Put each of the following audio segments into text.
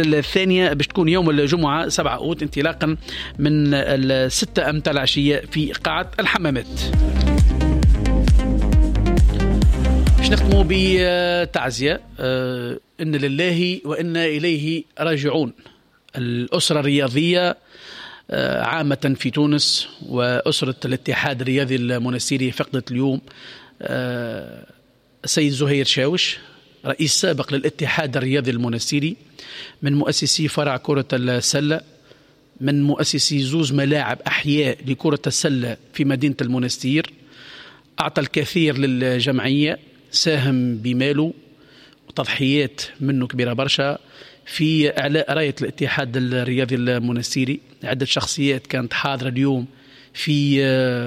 الثانية باش تكون يوم الجمعة 7 أوت انطلاقا من 6 أمتار العشية في قاعة الحمامات. باش نختموا بتعزية، إن لله وإنا إليه راجعون. الأسرة الرياضية عامة في تونس وأسرة الاتحاد الرياضي المنستيري فقدت اليوم السيد زهير شاوش، رئيس سابق للاتحاد الرياضي المنستيري، من مؤسسي فرع كرة السلة، من مؤسسي زوز ملاعب أحياء لكرة السلة في مدينة المنستير. أعطى الكثير للجمعية، ساهم بماله وتضحيات منه كبيرة برشا في إعلاء راية الاتحاد الرياضي المنستيري. عدة شخصيات كانت حاضرة اليوم في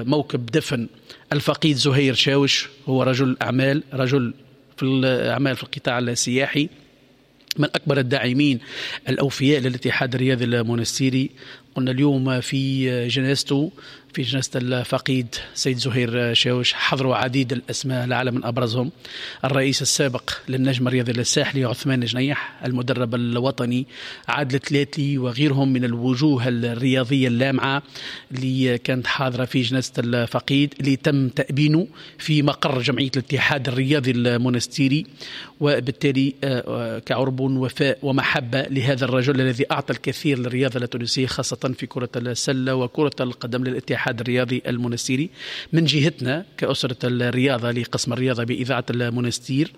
موكب دفن الفقيد زهير شاوش، هو رجل أعمال، رجل في الأعمال في القطاع السياحي، من أكبر الداعمين الأوفياء للاتحاد الرياضي المنستيري. قلنا اليوم في جنازته، في جنازة الفقيد سيد زهير شاوش، حضروا عديد الأسماء لعل من أبرزهم الرئيس السابق للنجم الرياضي الساحلي عثمان جنيح، المدرب الوطني عادل تلاتلي، وغيرهم من الوجوه الرياضية اللامعة اللي كانت حاضرة في جنازة الفقيد اللي تم تأبينه في مقر جمعية الاتحاد الرياضي المنستيري. وبالتالي كعرب وفاء ومحبة لهذا الرجل الذي أعطى الكثير للرياضة التونسية، خاصة في كرة السلة وكرة القدم للاتحاد الرياضي المنستيري. من جهتنا كأسرة الرياضة لقسم الرياضة بإذاعة المنستير،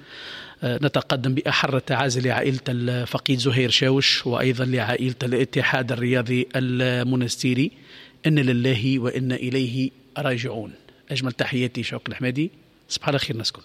نتقدم بأحر التعازي لعائلة الفقيد زهير شاوش وأيضا لعائلة الاتحاد الرياضي المنستيري. إن لله وإنا إليه راجعون. أجمل تحياتي شوق الحمادي، صباح الخير ناس كل.